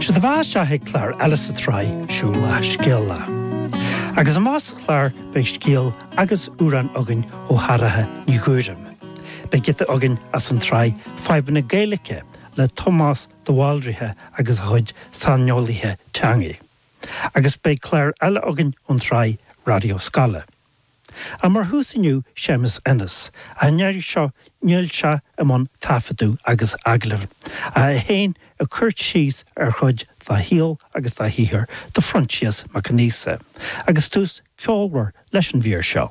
Tá sibh ag éisteacht ag clár eile sa tsraith Siúlach Scéalach. Agus amach sa chlár beidh scéal agus amhrán againn ó Shártha Ní Ghuairim. Beidh giota againn as an tsraith Fadhbanna Gaeilge le Tomás de Bhaldraithe agus a chuid saineolaithe teanga. Agus beidh clár eile againn ón tsraith Raidió Scoile. Ach mar thús inniu, Séamus Ennis. An iarraidh seo níl sé i mbun taifeadadh agus agallaimh, ach é féin ag cur síos ar chuid dá shaol agus dá shaothar do Phroinsias Mac Aonghusa. Agus tús ceolmhar leis an mhír seo.